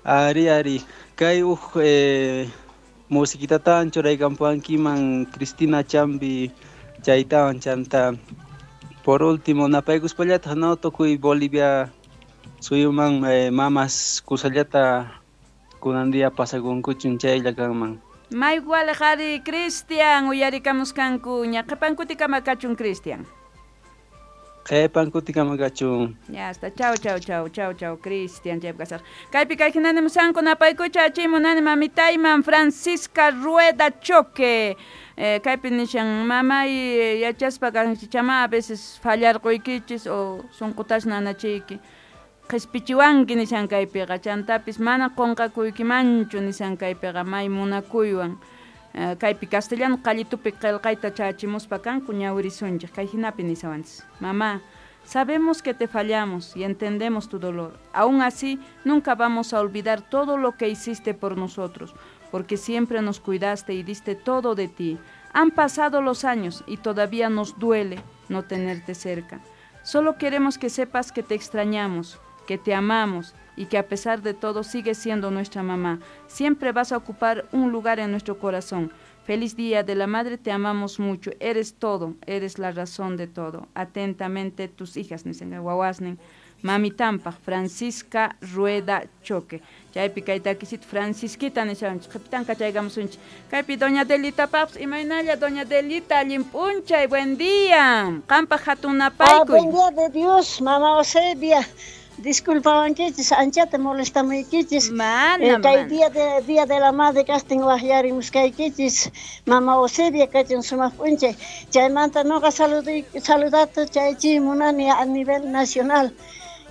Ari, ari. Kay uj musiquitatan churaykampuankiman Cristina Chambi chaytawan chanta. Por último, napaykuspallataq, no, tukuy Bolivia suyuman mamas kusallata kunan día pasakunkuchun chaylla kanman. May waliq ari, Cristian, uyarikamuskanku ña qhipan kutikama kachun, Cristian. Qhipan kutikama kachun. Ya está, chau, chau, chau, chau, chau, Cristian, chaypi kasaq. Kaypi kay hinani musanku napaykucha achimunani mamitayman Francisca Rueda Choque. Kaypi nishan mamay yachaspa kanchichama a veces fallarquykichis o sunqutas nanachiyki. Qhispichiwanki nishan kaypiqa, chantapis mana qunqakuykimanchu nishan kaypiqa may munakuywan. Kaypi castellano qallitupi qillqayta chachimuspa kanku ñawirisunchik kay hinapi nisawanchis. Mamá, sabemos que te fallamos y entendemos tu dolor. Aún así, nunca vamos a olvidar todo lo que hiciste por nosotros, porque siempre nos cuidaste y diste todo de ti. Han pasado los años y todavía nos duele no tenerte cerca. Solo queremos que sepas que te extrañamos, que te amamos y que a pesar de todo sigues siendo nuestra mamá. Siempre vas a ocupar un lugar en nuestro corazón. Feliz Día de la Madre, te amamos mucho. Eres todo, eres la razón de todo. Atentamente, tus hijas, nisan wawasnin. Mami tampaq, Francisca Rueda Choque. Chaypi kay takisit Francisquita nishanchik. Qhipitan kachaykamusunchik. Kaypi doña Delita paps, imaynalla doña Delita, allin p'unchay, buen día. Qampaq hatun napaykuy. Buen día de Dios, mamá Eusebia. Disculpawankichis, anchata molestamuykichis. Mana, Kay mana. día de la madre kastin waqyarimuskaykichis. Mama Eusebia kachun sumaq p'unchay. Chaymanta noqa saludata chaychi munani a nivel nacional.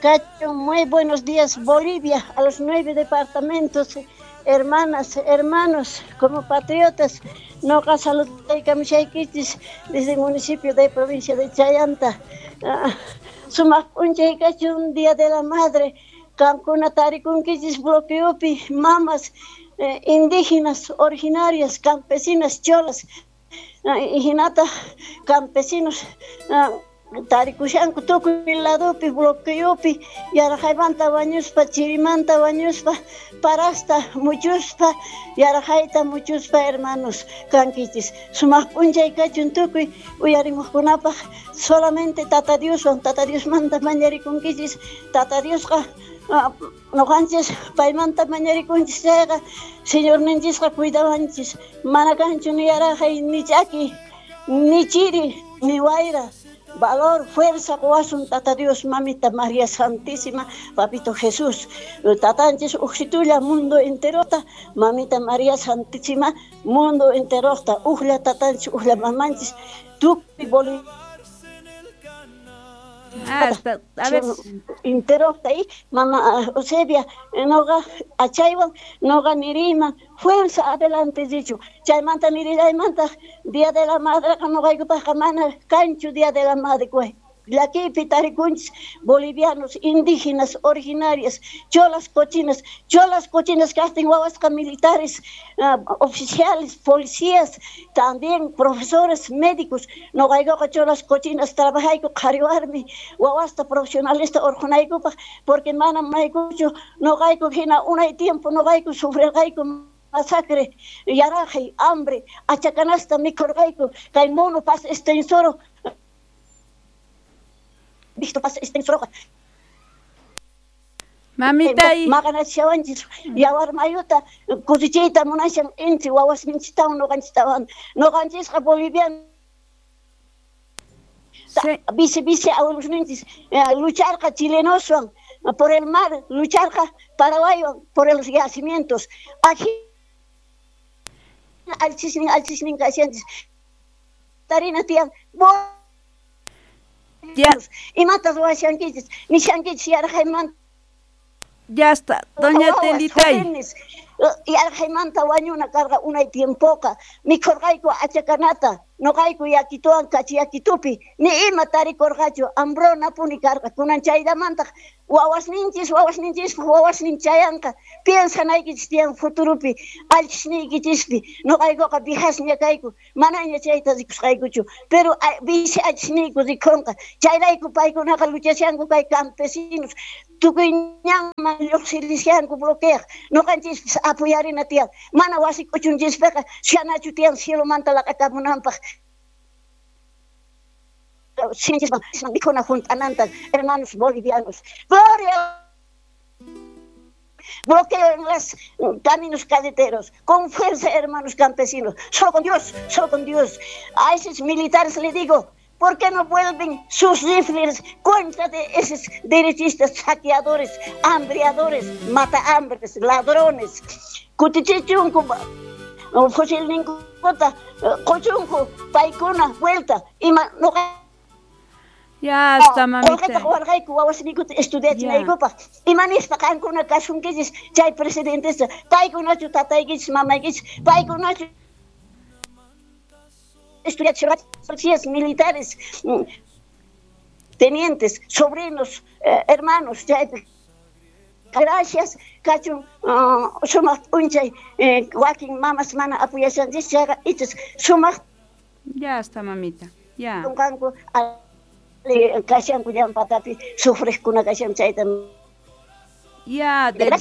Kachun, muy buenos días Bolivia, a los 9 departamentos, hermanas, hermanos, como patriotas, noqa saludaykamushaykichis desde el municipio de provincia de Chayanta. Sumaq p'unchay kachun Día de la Madre, qankuna tarikunkichis bloqueopi, mamas, indígenas, originarias, campesinas, cholas, hinata campesinos, tarikushanku tukuy ladopi, bloqueopi, yaraqaymanta wañuspa, chirimanta wañuspa, parasta muchuspa, yaraqayta muchuspa, hermanos, kankichis. Sumaq p'unchay kachun tukuy uyarimuqkunapaq, solamente Tata Dioswan, Tata Diosmanta mañarikunkichis, Tata Diosqa, noqanchis paymanta mañarikunchis chayqa, Señorninchisqa cuidawanchis, mana kanchu ni yaraqay, ni ch'aki, ni chiri, ni wayra. Valor, fuerza, qowasun Tata Dios, mamita María Santísima, Papito Jesús. Tatanchis uxitulla mundo enterota, mamita María Santísima, mundo enterota, ujla tatanchis, ujla mamanchis, tukuy boli. Hasta, a ver. Enterota ahí, mamá Eusebia, noga achaywan, noga nirima, fuerza adelante dicho. Chaymanta nirillaymanta, Día de la Madre, noqaykupaqqa mana kanchu Día de la Madre, güey. Llakipi tarikunchis, bolivianos, indígenas, originarias, cholas cochinas, cholas cochinas kastin wawasqa militares, oficiales, policías, también profesores, médicos. Noqaykuqa cholas cochinas trabajayku qhariwarmi, wawasta profesionalista orqunaykupaq, porque mana maykuchu noqayku hina unay tiempo noqayku sufrirqayku masacre, yaraqay, hambre, achakanasta mikhurqayku, kay mono pas extensoro. Visto pasa este roja. Mamita y Maganashawanchis, yawar mayuta, cosechita munashan inti, wawas minchitawan, noganchitawan, noganchisqa boliviano. Sí. Vice, vice, abuelos ninchis, lucharqa chilenoswan por el mar, lucharqa paraguayo por los yacimientos. Aquí, alchisnin, alchisnin, casianchis. Tarina tian, bo- Ya. Imata ruwashankichis, nishankichis yarqaymanta. Ya está, doña Wawas, Telitay. jóvenes, yarqaymanta wañuna karqa unay tiempoqa, mikhurqayku achakanata, noqayku yakituwan kachiyakitupi, ni ima tarikurqachu, hambruna puni karqa, kunan chayllamantaq Wawasninchis, wawasninchispaq wawasnin chayanqa. Piensanaykichis tiyan futuropi, allchisniykichispi. Noqaykuqa viejas-ña kayku, manaña chayta rikusqaykuchu. Pero bisi allchisniyku rikhunqa. Chayrayku paykunaqa luchashanku kay campesinos. Tukuy ñanman lluqsirishanku bloqueaq. Noqanchispis apoyarina tiyan. Mana wasi k'uchunchispiqa shanachu tiyan cielomanta laq'akamunanpaq. Mikhuna junt'ananta, hermanos bolivianos. Gloria. Bloqueo en los caminos carreteros. Con fuerza, hermanos campesinos. Solo con Dios, solo con Dios. A esos militares le digo, ¿por qué no vuelven sus rifles contra de esos derechistas, saqueadores, hambriadores, matahambres, ladrones? Kutichichunku, fusilninkuta, qochunku, paykuna, vuelta, ima noqa. Ya está, mamita. Warqayku wawasniykuta estudiachinaykupaq. Ima nispa qankuna kasunkichis chay presidentesta, paykunachu tataykichis, mamaykichis, paykunachu estudiachirqachis, policías militares, tenientes, sobrinos, hermanos, chaypi. Gracias, kachun sumaq p'unchay wakin mamas mana apoyashanchis chayqa ichas sumaq. Ya está, mamita. Ya. Qanku kashanku llampatapi sufriqkuna kashan chayta. Ya, Delita.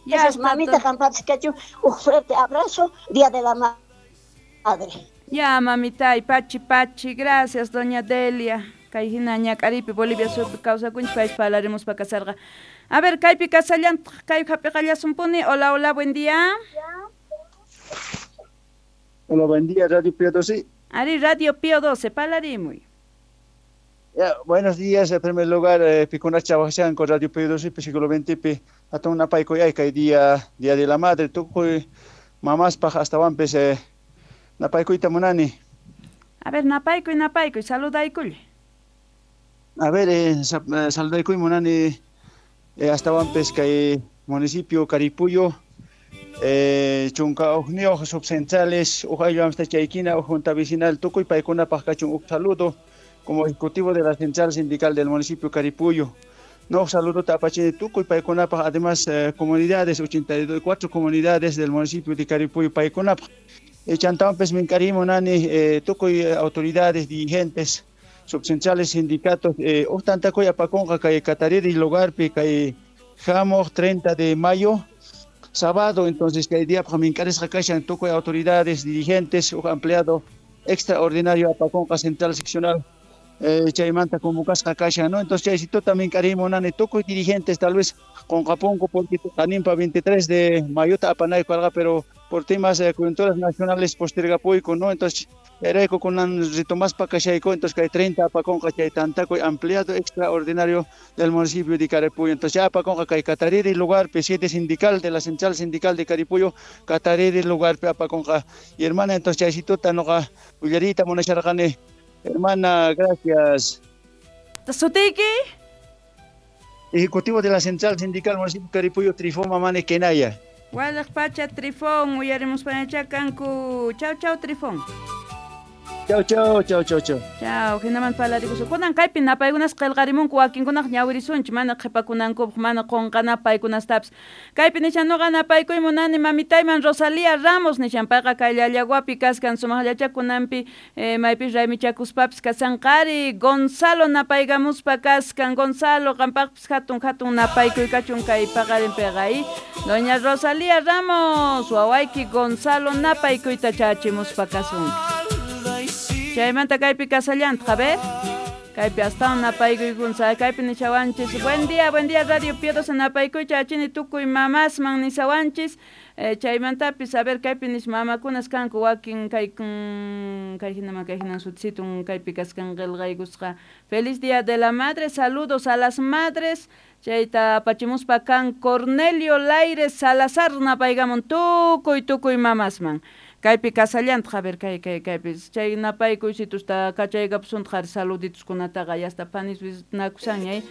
Ya, gracias, mamita, qampapis kachun un fuerte abrazo, Día de la Madre. Ya, mamita, y pachi pachi, gracias, doña Delia. Kay hina ñak'aripi Bolivia suyupi kawsakunchik paypis parlaremos pa kasarqa. A ver, kaypi kasallantaq, kay hap'iqallasumpuni. Hola, hola, buen día. Hola, buen día, Radio Pío 12. Ari, Radio Pío 12, parlarimuy. Ya, buenos días, en primer lugar, Picunacha con Radio Pío 12, siglo XX, atun napaykuy kay día, Día de la Madre, tukuy mamaspaq astawanpis napaykuyta munani. A ver, napaykuy, napaykuy, saludaykuy. A ver, saludaykuy munani astawanpis kay municipio Caripuyo, chunka ujniyuq subcentrales, uj ayllu chaykina, uj junta vecinal, tukuy paykunapaq kachun uj saludo como ejecutivo de la central sindical del municipio Caripuyo. No, saludo tapachini tukuy paykunapaq, además comunidades, 84 comunidades del municipio de Caripuyo paykunapaq. Chantawanpis mink'arimu nani tukuy autoridades, dirigentes, subcentrales, sindicatos, uj tantakuy apakunqa kay Catariri lugarpi kay jamuq 30 de mayo, sábado, entonces kay día mink'arisqa kashan tukuy autoridades, dirigentes, uj empleado extraordinario apakunqa central seccional chaymanta convocasqa kashan, ¿no? Entonces chaysituta mink'arimu nani tukuy dirigentes, tal vez qunqapunku porque qaninpa 23 de mayota apanayku karqa, pero por temas coyunturas nacionales postergapuyku, ¿no? Entonces chayrayku kunan retomaspa kashayku, entonces kay 30 apakunqa chay tantakuy ampliado extraordinario del municipio de Caripuyo. Entonces ya apakunqa kay Catariri lugar, P7 sindical de la central sindical de Caripuyo, Catariri lugar apakunqa. Y hermana, entonces chaysituta noqa willariyta munasharqani. Hermana, gracias. ¿Sutiki? Ejecutivo de la Central Sindical Municipio Caripuyo, Trifón Mamane Kenaya. Walaq pacha Trifón, uyarimus panachakanku. Chau, chau, Trifón. Chau, chau, chau, chau, chau. Chau, hinaman parlarikusun. Kunan kaypi napaykunas qillqarimunku wakinkunaq ñawirisunchik, mana qhipakunankupaq, mana qunqanapaq paykunastapis. Kaypi nishan nuqa napaykuy munani mamitayman Rosalía Ramos nishan payqa kay Llallaguapi kaskan sumaqllachakunanpi maypis raymichakuspapis kasanqari. Gonzalo napaykamuspa kaskan. Gonzalo qampaqpis hatun hatun napaykuy kachun kay paqarinpiqa. Doña Rosalía Ramos, wawayki Gonzalo napaykuyta chachimuspa kasunki. Chaymanta kaypi kasallantaq, a ver. Kaypi astawan napaykuykunsa, kaypi nishawanchis. Buen día Radio Pío 12 napaykuy chachini tukuy mamasman nishawanchis. Chaymantapis, a ver, kaypi nish mamakunas kanku wakin kay hinaman kay hinan sutisitun kaypi kaskan qillqaykusqa. Feliz Día de la Madre, saludos a las madres. Chayta apachimuspa kan Cornelio Laires Salazar napaykamun tukuy tukuy mamasman. Kaypi kasallantaq, a ver, kay kaypi chay napaykuysitus kachaykapusuntaq saludituskunataqa yasta panis nakusanña.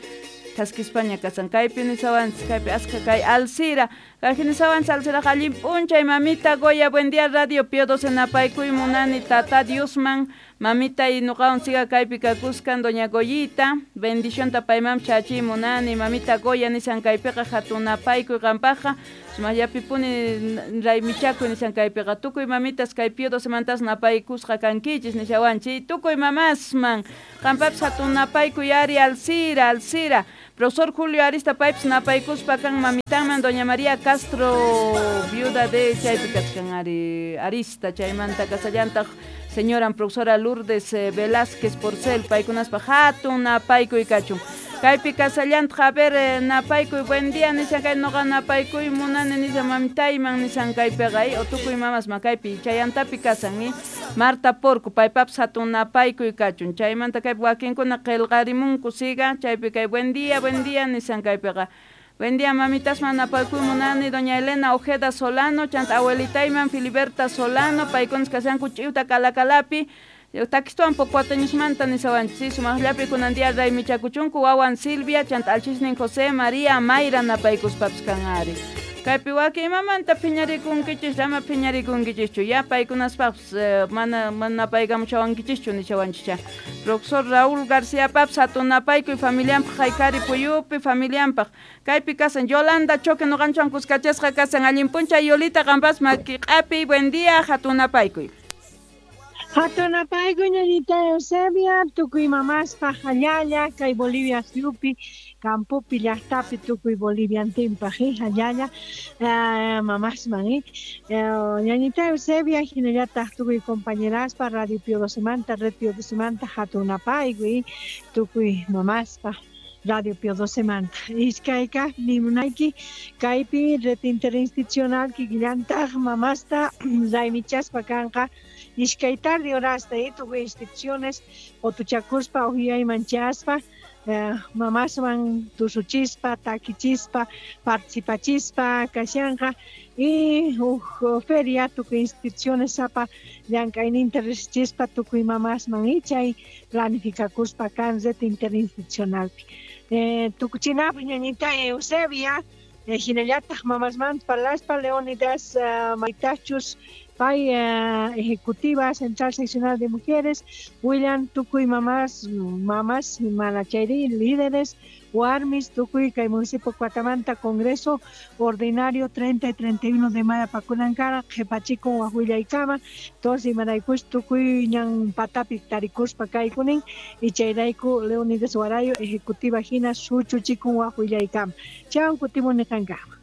thaskispaña kasan. Kaypi nisawanchis, kaypi aska kay Alcira. Kay nisawanchis Alcira allin p'unchay mamita Goya, buen día Radio Pío 12 napaykuy munani tata Diosman mamita y nuqawan siga kaypi kakuskan doña Goyita, bendición tapaymam chachi munani mamita Goya nisan kaypiqa hatun napaykuy qampaqqa sumayllapi puni raymichakuy nisan kaypiqa tukuy mamitas kay Pío 12 mantas napaykusqa kankichis nishawanchik tukuy mamasman qampapis hatun napaykuy ari Alcira, Alcira. Profesor Julio Arista paypis napaykuspa kan mamitanman doña María Castro viuda de chaypi kachkan ari Arista chaymanta kasallantaq señora profesora Lourdes Velázquez Porcel paykunaspa hatun napaykuy kachun. Kaypi kasallantaq a ver napaykuy buen día nisan kay noqa napaykuy munani nisan mamitayman nisan kaypiqa o tukuy mamasman kaypi chayantapi kasan Marta Porco paypapis hatun napaykuy kachun chaymanta kaypi wakinkuna qillqarimunku siga chaypi kay buen día nisan kaypiqa. Buen día, mamitas, napaykuy munani, doña Elena Ojeda Solano, chanta abuelitayman Filiberta Solano, paykunas kasanku ch'iwta kalakalapi, takistuan pocuateñusmanta nisawanchis, sumaqllapi kunan día raymichakuchunku, wawan Silvia, chanta alchisnin José María Mayra napaykuspapis kan ari. Kaypi wakin imamanta phiñarikunkichis, ama phiñarikunkichischu, ya paykunaspapis mana napaykamuchawankichischu nishawanchicha. Profesor Raúl García paps hatun napaykuy familianpaq haykari puyupi familianpaq. Kaypi kasan Yolanda Choque nuqanchwan kuskachasqa kasan allin p'unchay Yolita qampas makiq'api, buen día hatun napaykuy. Hatun napaykuy ñañita Eusebia, tukuy mamaspaq allalla kay Bolivia suyupi campopi llaqtapi tukuy Boliviantinpaq allalla mamasman ñañita Eusebia hinallataq tukuy compañeraspa Radio Pío 12 manta Red Pío 12 manta hatun napaykuy tukuy mamaspaq Radio Pío 12 manta iskayka nimunayki kaypi red interinstitucional kikillantaq mamasta raymichaspa kanqa iskay tarde horasta tukuy instituciones qotuchakuspa uhyayman chaspa mamaswan tusuchispa takichispa participachispa kashanqa y feria tukuy instituciones sapa llank'ayninta riqsichispa tukuy mamasman y chay planificakuspa kan red interinstitucionalpi tukuchinapaq ñañita Eusebia hinallataq mamasmanta parlaspa Leonidas Maytachus pay ejecutiva central seccional de mujeres William tukuy mamás manachayri líderes warmis tukuy kay municipio Cuatamanta congreso ordinario 30 y 31 de mayo pakunankara qhipachiku wahuillaykama entonces imaraykush tukuy ñan patapi tarikuspa kaykunin y chayrayku Leonidas Warayo ejecutiva hina suchuchikun wahuillaykama chawan kutimuni qankama.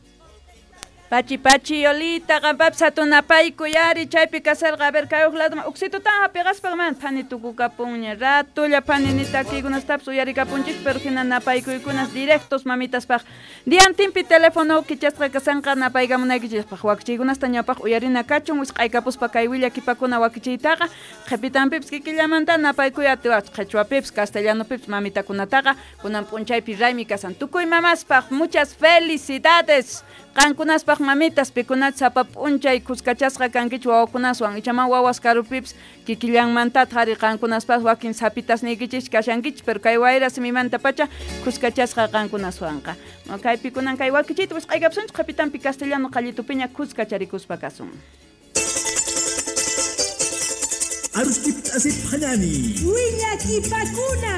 Pachi pachi Yolita qampapis hatun napaykuy ari chaypi kasarqa a ver kay huk ladoman uksitutan hapiqaspa man phani tukukapunña ratulla phani nitakiykunastapis uyarikapunchik pero hina napaykuykunas directos mamitaspaq diantinpi teléfono kichasqa kasanqa napaykamunaykichispaq wakichiykunasta ñawpaq uyarina kachun wisq'aykapuspa kay willakipakuna wakichiytaqa qhipitanpipis kikillamanta napaykuy atiwaq qhichwapipis castellanopipis mamitakunataqa kunan p'unchaypi raymi kasan tukuy mamaspaq muchas felicidades qankunaspaq mamitas pikunach sapa p'unchay kuskachasqa kankichik wawakunaswan ichaman wawas karupipis kikillanmantataq ari qankunaspas wakin sapitas niykichik kashankichik pero kay wayra simimantapacha kuskachasqa qankunaswanqa kaypi kunan kay wakichiyta wisq'aykapusunchik qhipitanpi castellano qallitupiña kuskacharikuspa kasun. Aruskip asip hanani Willakipakuna.